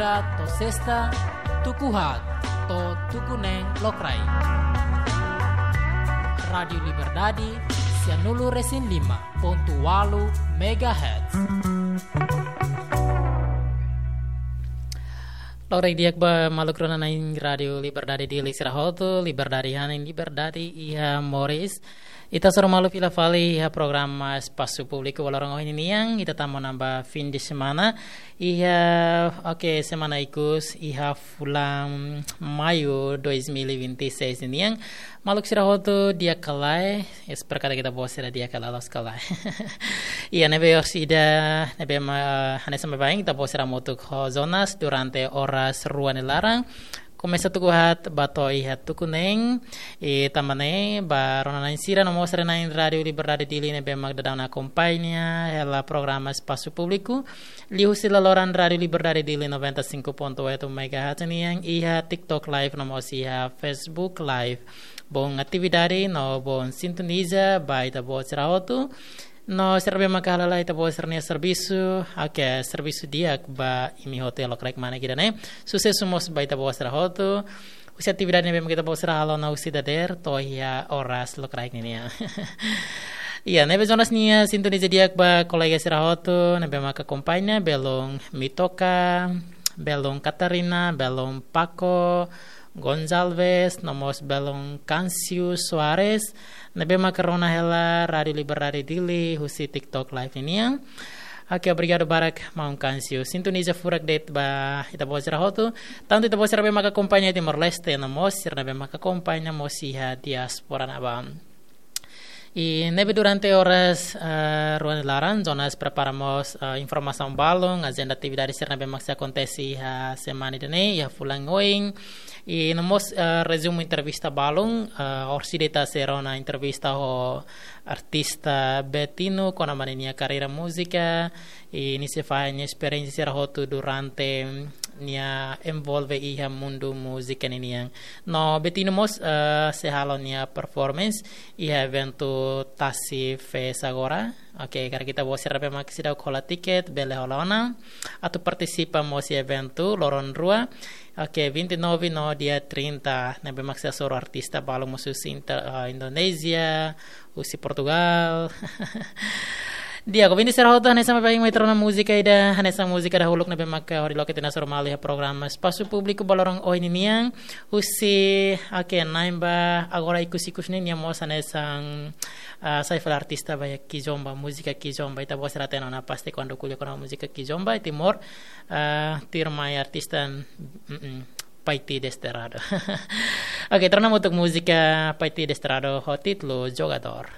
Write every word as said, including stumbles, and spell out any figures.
To'o sesta, tuku haat to'o tuku neen lokraik. Rádiu Liberdade, sianulu resin lima pontu ualu megahertz. Lokraik di'ak ba maluk rona-na'in Rádiu Liberdade Dili sira hotu, liberdade hanesan liberdade iha moris. Ita hasoru malu fila fali iha programa Espasu Públiku ba loron ohin nian, ita tama ona ba fin de semana. Iha, oke, semana ikus, iha fulan Maiu dois mil e vinte e seis nian. Maluk sira hotu di'ak ka lae, espera katak ita-boot sira di'ak ka lae, loos ka lae. Iha ne'ebé orsida, ne'ebé mak hanesan baibain, ita-boot sira hamutuk ho Jonas durante oras rua nia laran. Komesa tuku haat ba to'o iha tuku neen, i tanba ne'e ba rona-na'in sira no mós rona-na'in Rádiu Liberdade Dili ne'ebé mak daudaun akompaña hela programa Espasu Públiku. Liuhusi laloran Rádiu Liberdade Dili noventa e cinco ponto oito megahertz nian, iha TikTok Live no mós iha Facebook Live. Boot atividade no boot sintoniza ba ita-boot sira hotu. No sira ne'ebé maka hala'o ita-boot sira-nia servisu, oke, servisu di'ak ba imi hotu iha lokraik mane ida-ne'e. Susesu mós ba ita-boot sira hotu. Husi atividade ne'ebé maka ita-boot sira halo ona husi dadeer to'o iha oras lokraik nian. Iha ne'ebé Jonas nia sintoniza di'ak ba kolega sira hotu ne'ebé maka akompaña, belun Mitoka, belun Katarina, belun Paco Gonçalves, no mós belun Cancio Soares, ne'ebé maka rona hela Rádiu Liberdade Dili husi TikTok Live nian. Oke, obrigadu barak maun Cancio. Sintoniza furak de'it ba ita-boot sira hotu. Tantu ita-boot sira ne'ebé maka akompaña Timor-Leste no mós sira ne'ebé maka akompaña mós iha diáspora ne'ebá. I ne'ebé durante oras, eh, rua nia laran, Jonas prepara mós, eh, informasaun balun, ajenda atividade sira ne'ebé mak sei akontese iha semana ida-ne'e, iha fulan oin. I no mós, eh, rezumu entrevista balun, eh, orsida ita sei rona entrevista ho artista Betino, kona-ba ninia karreira múzika, i nia sei fahe nia esperiénsia sira hotu durante nia envolve iha mundu múzika ninian. No Betino mós, eh, sei halo nia performance iha eventu Tasi Fest agora. Oke, karik ita-boot sira ne'ebé mak seidauk hola tiket, bele hola ona. Atu partisipa mós iha eventu loron rua. Oke, vinte e nove no dia trinta, ne'ebé mak sei hasoru artista balun mós husi inter-, eh, Indonézia, husi Portugal. Di'ak, ouvinte sira hotu, hanesan baibain mai ita rona múzika ida, hanesan múzika dahuluk ne'ebé maka hodi loke tiha ona hasoru malu iha programa Espasu Públiku ba loron ohin nian. Husi, oke, na'in ba agora ikus-ikus ne'e nia mós hanesan, ah, sai fali artista ba iha kizomba, múzika kizomba. Ita-boot sira hatene ona pasti kuandu ko'alia kona-ba múzika kizomba iha Timor, ah, tuirmai artista, mm, mm, Paiti Desterrado. Oke, ita rona hamutuk múzika Paiti Desterrado ho títulu Jogadór.